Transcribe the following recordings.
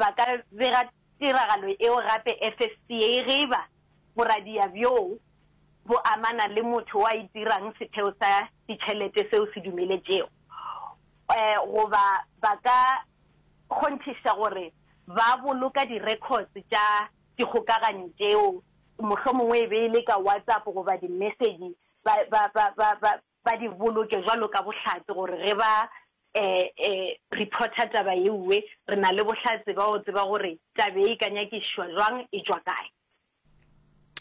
Ba ka bega tiragalo eo gape FSCA ge e ba boradia bjoo bo amana le motho o a itirang setheo sa ditšhelete seo se dumeletšego, goba ba ka kgonthiša gore ba boloka di-records tša dikgokaganyo tšeo, mohlomongwe e be e le ka WhatsApp goba di-message, ba, ba, ba, ba, ba, ba di boloke bjalo ka bohlatse gore ge ba reporter taba yeuwe, re na le bohlatse ba go tseba gore taba ye e ka nyakišišwa jwang, e tšwa kae.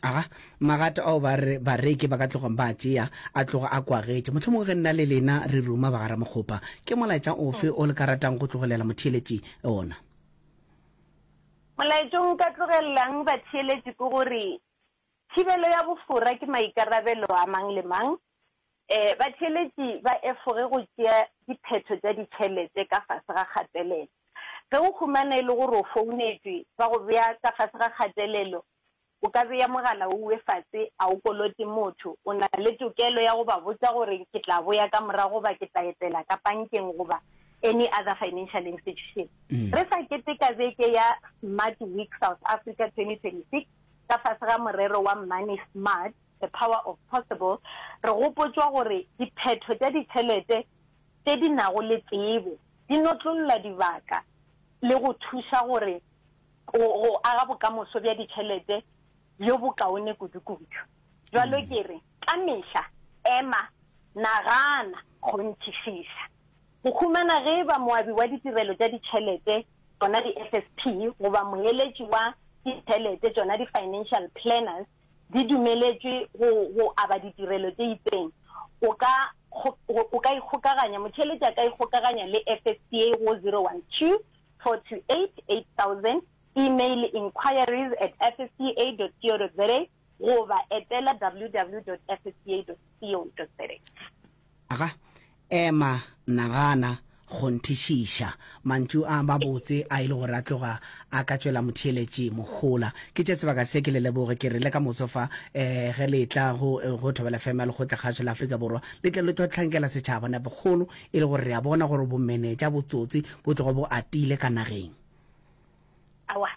Aga, magato ao ba re bareki ba ka tlogang ba a tšea a tloga a kwagetše. Mohlomongwe ge nna le lena re ruma ba ga Ramokgopa, ke molaetša ofe o le ka ratang go tlogelela motheeletši ona? Molaetša o nka tlogelelang batheeletši ke gore thibelo ya bofora ke maikarabelo a mang le mang. Batheeletši ba efoge go tšea diphetho tša ditšhelete ka fase ga kgatelelo. Ge o humana e le gore o founetšwe ba go bea ka fase ga kgatelelo, o ka bea mogala ouwe fase, a o kolote motho. O na le tokelo ya go ba botša gore ke tla boya ka morago goba ke tla etela ka pankeng goba any other financial institution. Re sa keteka beke ya Smart Week South Africa 2026 ka fase ga morero wa Money Smart, The Power of Possible, re gopotšwa gore diphetho tša ditšhelete tše di nago le tsebo di notlolla dibaka le go thuša gore go aga bokamoso bja ditšhelete bjo bokaone kudukudu. Bjalo ke re, ka mehla ema, nagana, kgonthišiša. Go humana ge e ba moabi wa ditirelo tša ditšhelete, tšona di-FSP, goba moeletši wa ditšhelete, tšona di-financial planners, di dumeletšwe go, go aba ditirelo tše itseng, o ka, o ka ikgokaganya, motheeletši a ka ikgokaganya le FSCA go 012 428 8000, email inquiries at fsca dot co dot za goba etela www dot fsca dot co dot za. Aga, ema, nagana, kgonthišiša. Mantšu a mabotse a e le gore a tloga a ka tšwela motheeletši mohola. Ke tše sebaka se ke le leboge ke re le ka moso fa eh, ge le etla go, go Thobela FM ya Lekgotla-kgašo la Afrika Borwa le tle le tlo hlankela setšhaba nepokgolo e le gore re a bona gore bomenetša, botsotsi bo tloga bo atile ka nageng. Aowa,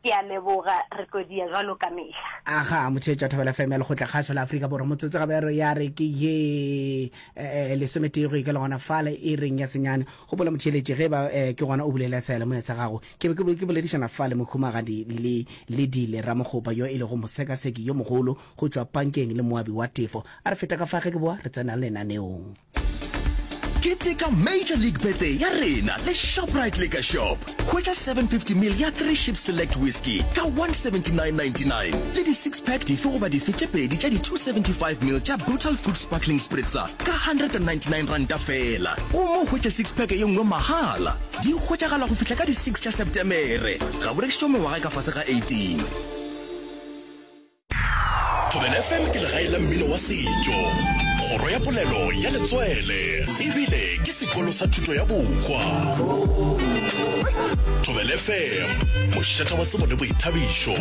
ke a leboga, re tlo dia jwalo ka mehla. Aga, motheetši wa Thobela FM ya Lekgotla Kgašo la Afrika Borwa, motsotso gabe re ya re ke ye eh, lesometee go ikela gona fale e reng ya senyane. Gopola motheeletši ge ba eh, ke gona o bulela seyalemoya sa gago. Ke be ke ke boledišana fale mokhumagadi le Ledile Ramokgopa yo e lego mosekaseki yo mogolo go tšwa pankeng le moabi wa tefo. A re feta ka fa ge ke boa re tsena lenaneong. Keteka Major League Birthday ya rena le Shoprite Liquor Shop. Hwetša 750 ml ya Three Ships Select Whisky ka 179.99 le di-six pack dife goba dife tše pedi tša di-275 ml tša Brutal Fruit Sparkling Spritzer ka 199 ranta feela. Gomme o hwetše six pack ye nngwe mahala. Di hwetšagala go fihla ka di-six tša Septemere. Ga bo rekišetšwe mengwaga e ka fase ga 18. Thobela FM ke legae la mmino wa setšo, kgoro ya polelo ya letswele, ebile ke sekolo sa thuto ya bohwa. Thobela FM, mošate wa tsebo le boithabišo.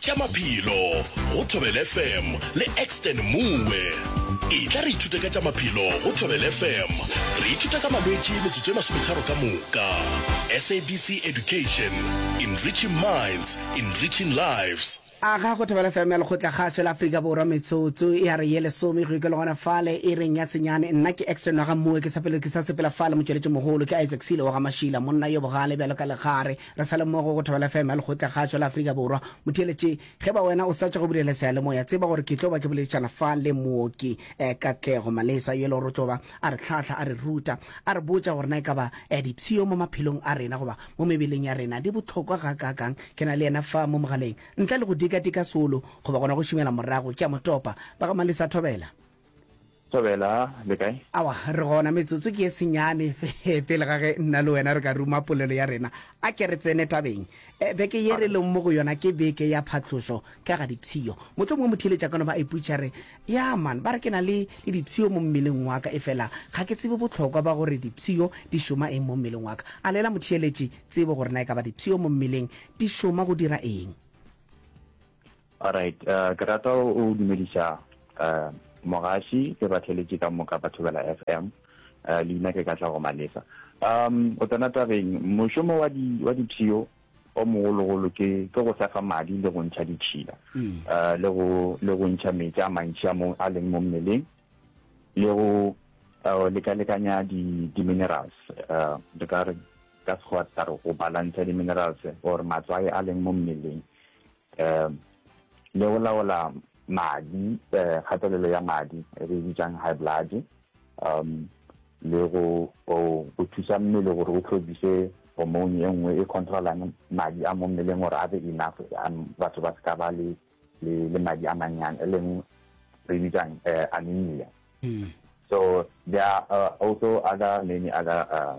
Tša maphelo go Thobela FM le Exton Moe. Etla re ithute ka tša maphelo go Thobela FM. Re ithuta ka malwetši metsotso e masometharo ka moka. SABC Education, enriching minds, enriching lives. Aga go Thobela FM ya Lekgotla Kgašo la Afrika Borwa metsotso ya re ye lesome go ikelo gona fale e reng ya senyane. Nna ke Exton wa ga Moe ke sa pele ke sa sepela fale motšweletši mogolo ke Isaac Silo wa ga Mašila monna yo bogale bjalo ka legare. Re sa le mmogo go Thobela FM ya Lekgotlakgašo la Afrika Borwa. Motheeletši, ge ba wena o sa tšwa go bulela seyalemoya, tseba gore ke tlo ba ke boledišana fa le mooki eh, Katlego Malesa, yo e le gore o tlo ba a re hlahla, a re ruta, a re botša gore na e ka ba eh, dipshio mo maphelong a rena goba mo mebeleng ya rena di bohlokwa gakaakang. Ke na le yena fa mo mogaleng. Ntle le go dikadika solo goba gona go šomela morago, ke a mo topa. Ba ga Malesa, thobela. Thobela, le kae? Aowa, re gona. Metsotso ke ye senyane pele ga ge nna le wena re ka ruma polelo ya rena. A ke re tsene tabeng. Beke ye re leng mo go yona ke beke ya phatlošo ka ga dipshio. Mohlomongwe motheeletši a ka no ba a ipotšiša re, Ya man, ba re ke na le le dipshio mo mmeleng wa ka, efela ga ke tsebe bohlokwa ba gore dipshio di šoma eng mo mmeleng wa ka. A neela motheeletši tsebo gore na e ka ba dipshio mo mmeleng di šoma go dira eng. Alright, uh, ke rata o dumediša uh, Mogaši le batheeletši ka moka ba Thobela FM. Leina ke Katlego Malesa. Um, go tsena tabeng, mošomo wa di, wa dipshio o mogologolo ke, ke go sefa madi le go ntšha ditšhila, uh, le go, le go ntšha meetse a mantši a mo, a leng mo mmeleng, le go uh, lekalekanya di, di-minerals, uh, re ka re ka Sekgowa re tla re go balantsha di-minerals or matswai a leng mo mmeleng. Um le go laola madi, eh, kgatelelo ya madi e re e bitsang high blood, um le go go thusa mmele gore o tlhobise hormone e nngwe e controlang madi a mo mmeleng gore a be enough, batho ba se ka ba le le madi a mannyane, e leng re bitsang eh, anemia. So there are uh, also other many other uh,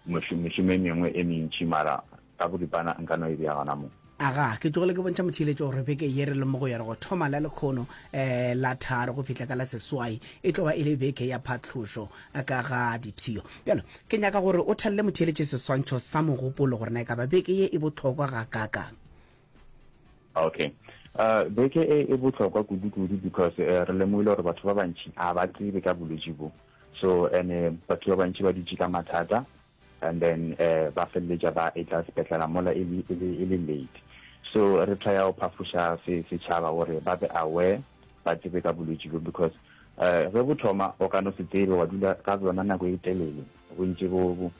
mešomo e mengwe e mentši mara ka boripana nka no e bea gona mo. Aga, ke tlogile ke bontšha motheeletši gore beke ye re leng mo go yona go thoma la lekhono um la tharo go fihla ka la seswai e tlo ba e le beke ya phatlhošo ka ga dipshio. Bjalo, ke nyaka gore o thalele motheeletši seswantšho sa mogopolo gore na e ka ba beke ye e bohlokwa gakaakang. Okay. Uh, beke e e bohlokwa kudu-kudu because uh, re lemogile gore batho ba bantši ga ba tsebe ka bolwetši bo. So and uh, batho ba bantši ba dutše ka mathata and then uh, ba feleletša ba etla sepetlela mola e le, e le, e le late. So re try go phafoša setšhaba gore ba be aware ba tsebe ka bolwetši bo because uh, ge bo thoma o ka no se tsebe wa dula ka bjona nako e telele bo ntše bo, bo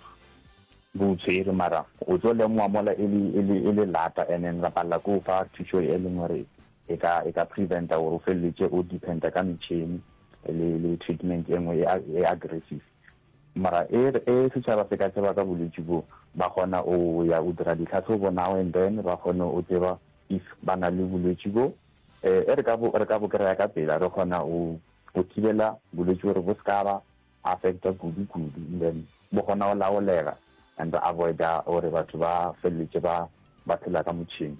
bo o tshwere mara o tlo lemoga mola e le, e le, e le lata and then ra palela ke o fa thušo e leng gore e ka, e ka preventa gore o feleletše o dependa ka metšhini le, le treatment e nngwe e, e aggressive. Mara e, e setšhaba se ka tseba ka bolwetši bo, ba kgona o ya o dira ditlhahlobo now and then, ba kgone o tseba if ba na le bolwetši bo. E re ka bo, re ka bo kry-a ka pela, re kgona o, o thibela bolwetši gore bo se ka ba affecta kudu kudu and then bo kgona go laolega and re avoida gore batho ba feleletše ba ba phela ka motšhene.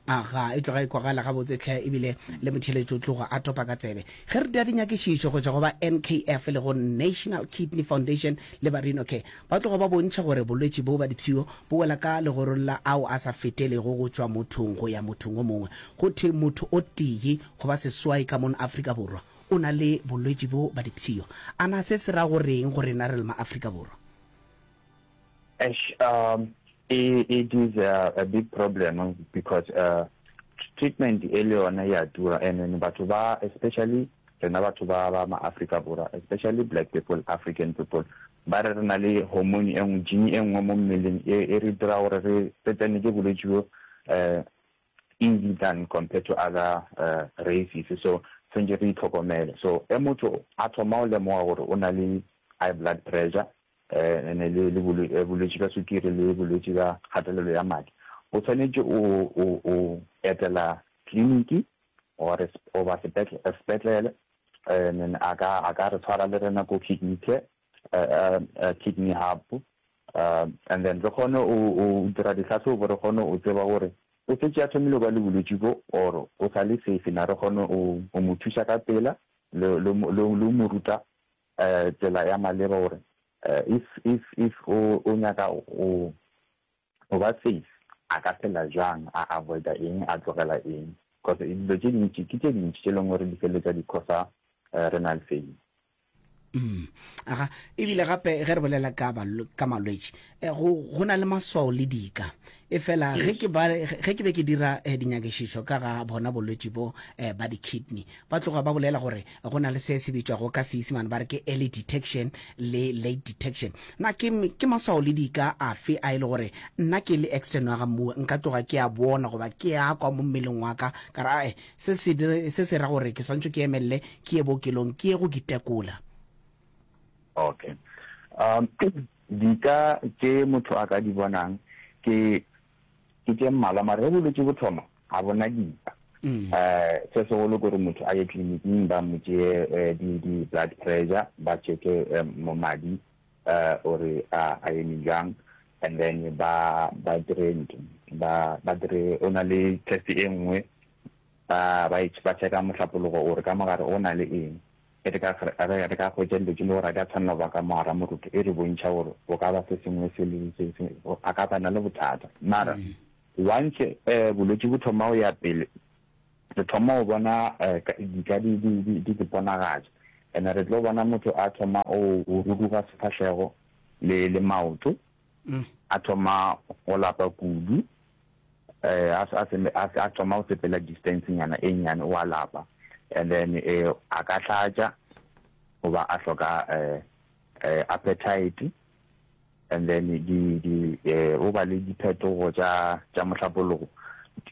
Aga, e tloga e kwagala gabotse hle ebile le motheeletši o tloga a topa ka tsebe. Ge re dira dinyakišišo go tšwa go ba NKF e lego National Kidney Foundation le ba Renal Care, ba tloga ba bontšha gore bolwetši bo ba dipshio bo wela ka legorong la ao a sa fetelego go tšwa mothong go ya mothong o mongwe. Go thwe motho o tee go ba seswai ka mono Afrika Borwa o na le bolwetši bjo ba dipshio. A na se se ra go reng go rena re le ma-Afrika Borwa? Eish, um, it is a, a big problem because uh, treatment e le yona ya tura and then batho ba especially rena batho ba ba ma-Afrika Borwa especially black people, African people ba re re na le hormone e nngwe gene e nngwe mo mmeleng e, e re dira gore re tsene ke bolwetši bjo um easy than compared to other races so tshwantše re itlhokomele so ge motho a thoma go lemoga gore o na le high blood pressure ene le le bolwetši bja sukiri le bolwetši bja kgatelelo ya madi o tshwanetše o o o etela tleliniki or goba sepetlele and then a ka a ka re tshwara le rena ko kidney care kidney hub and then re kgone o dira dihlahlobo re kgone o tseba gore o šetše a thomile go ba le bolwetši bo or o sa le safe na re kgone o mo thuša ka pela le le le mo ruta tsela ya maleba gore if if if o o nyaka o o ba safe a ka phela jwang a avoida eng a tlogela eng cause dilo tše dintši ke tše dintši tše leng gore di feleletša di causa renal failure. Mm. Aga, ebile gape ge re bolela ka, ka malwetši, eh, go, go na le maswao le dika. E fela ge ke ba, ge ke be ke dira eh, dinyakišišo ka ga bona bolwetši bo eh, ba di-kidney, ba tloga ba bolela gore go na le se se bitšwago ka Seisemane ba re ke early detection le late detection. Na ke, ke maswao le dika afe a e le gore nna ke le extern wa ga Mmuwe nka tloga ke a bona goba ke a kwa mo mmeleng wa ka ka re ae Se se, se se ra gore ke swanetše ke emelele ke ye bookelong ke ye go itekola. Okay. Um, dika tše motho a ka di bonang ke ke tše mmalwa, mara ge bolwetši bo thoma ga bona dika. Um, se segolo ke gore motho a ye tleliniking ba mo tšee eh, di, di blood pressure, ba checke eh, mo madi eh, gore a, a eme jwang, and then ba ba dire ntho ba ba dire o na le test e nngwe ba ba e ba checka mohlapologo gore ka mogare o na le eng e re ka re re ka hwetša dilo tše le gore a di a tshwanela go ba ka mogara moroto e re bontšha gore o ka ba se sengwe se le se se a ka ba na le bothata mara once eh bolwetši bo thoma go ya pele. Re thoma go bona dika di di di di iponagatša. And re tlo bona motho a thoma go ruruga sefahlego le le maoto, a thoma go lapa kudu, a a a thoma go sepela distance nyana e nnyane o a lapa. And then a ka hlatša goba a hloka appetite. And then di di o ba le diphetogo tša tša mohlapologo,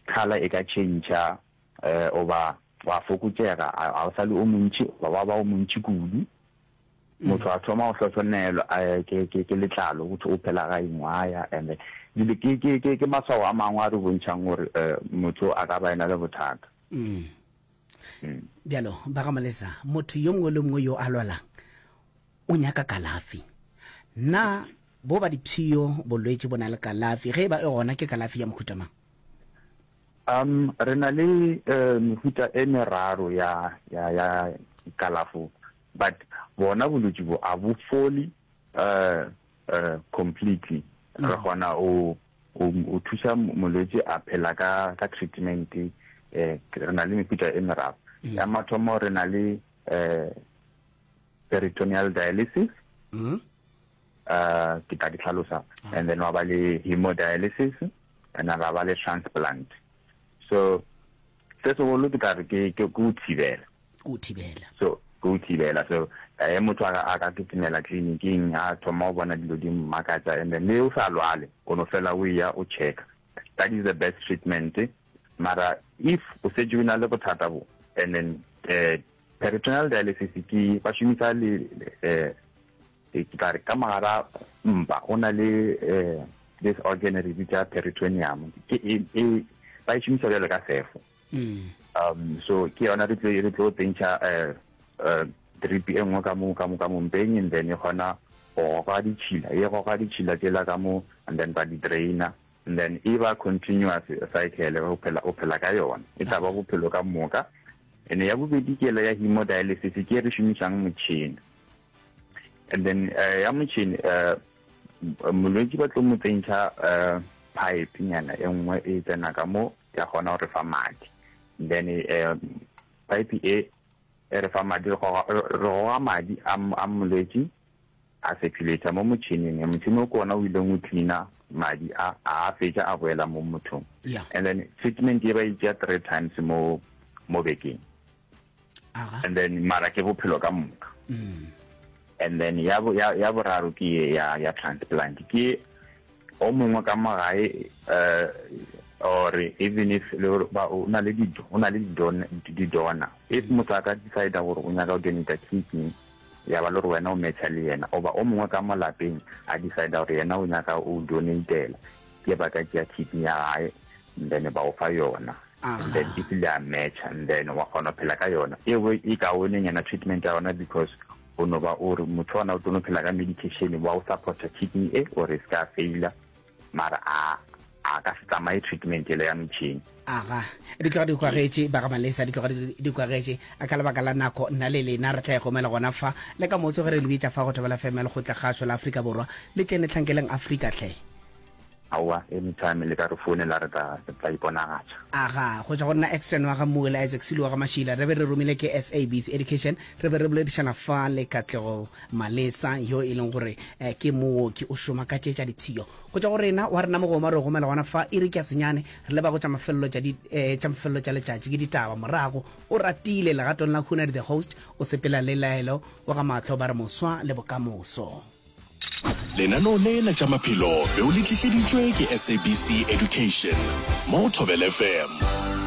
colour e ka tšhentšha goba wa fokotšega, a o sa le o montši goba wa ba o montši kudu. Motho a thoma go hlohlonelwa ke ke ke letlalo, go thwe o phela ga ingwaya and dilo ke ke ke ke maswao a mangwe a re bontšhang gore motho a ka ba ena le bothata. Bjalo ba ga Malesa, motho yo mongwe le mongwe yo a lwalang O nyaka kalafi. Na bo ba dipshio bolwetši bo na le kalafi? Ge e ba e gona, ke kalafi ya mohuta mang? Um, re na le mehuta e meraro ya, ya, ya kalafo, but bona bolwetši bo a bo fole uh, uh, completely. Re kgona o, o, o thusa molwetši a phela ka, ka treatment. Eh, re na le mehuta e meraro. Ya mathomo re na le eh, peritoneal dialysis mm. uh, ke tla di hlalosa ah. and then wa ba le hemodialysis and then ra ba le transplant so se segolo ke tla re ke ke go thibela go thibela so go thibela so eh motho a ka kitimela clinicing a thoma go bona dilo di mmakatša and then le o sa lwale o no fela o ya o checka that is the best treatment mara if o setse o na le bothata bo and then eh Peritoneal dialysis ke ba šomisa le eh ke tla re ka mogara mpa go na le eh this organ re bitsa peritoneum ke e, e ba e šomisa bjalo ka sefo mm. um so ke yona re tlo re tlo tsentšha eh eh drip e nngwe ka mo ka mo ka mo mpeng and then e kgona go goga ditšhila e goga ditšhila tšela ka mo and then ba di draina and then e ba continuous cycle o phela o phela ka yona e tla ba bophelo ka moka ene ya bobedi ke ela ya hemodialysis ke e re šomišang motšhene and then uh, ya motšhene uh, molwetši ba tlo mo tsentšha uh, pipe nyana e nngwe e tsena ka mo ya kgona go re fa madi then uh, pipe e e re fa madi re goga madi a molwetši A circulator mo motšhining, motšhini o ke ona o ileng o cleaner madi a, a a fetša a boela mo mothong. Yeah. And then treatment ye ba e tšea three times mo mo bekeng. Aga. And then mara ke bophelo ka moka. Mm. And then ya ya ya boraro ke ye ya ya transplant ke o mongwe ka mo gae eh or even if le gore ba o na le di o na le di donor if motho a ka decide gore o nyaka go donate kidney ya ba le gore wena o matcha le yena oba o mongwe ka mo lapeng a decide gore yena o nyaka o donatela ke ba ka tšea kidney ya gae and then ba o fa yona and then if le a matcha and then wa kgona go phela ka yona e e kaonenyana treatment ya yona because o no ba o re motho ona o tlo no phela ka medication wa o supporta kidney e or e se ka faila Mara a a ka se tsamaye treatment yela ya metšhini. Aga, di tloga di kwagetše, ba ga Malesa, di tloga di kwagetše. A ka lebaka la nako, nna le lena re tla e gomela gona fa. Le ka moso ge re le bitša fa go Thobela FM ya Lekgotlakgašo la Afrika Borwa, le tleng le hlankeleng Afrika hle. Aowa, anytime le ka re founela re tla, re tla iponagatša. Aga, go tšwa go nna Exton wa ga Mmuwe le Isaac Sulu wa ga Mašila, re be re romile ke SABC Education, re be re boledišana fa le Katlego Malesa yo e leng gore ke mooki o šoma ka tše tša dipshio. Go tšwa go rena wa rena mogoma re gomela gona fa iri ke ya senyane re leba go tša mafelelo tša di eh, tša mafelelo tša letšatši ke ditaba morago o ratile legatong la Hunadi the host o sepela le laelo wa ga mahlo ba re moswa le bokamoso. Lenaneo le la tša maphelo be o le tlišeditšwe ke SABC Education mo go Thobela FM.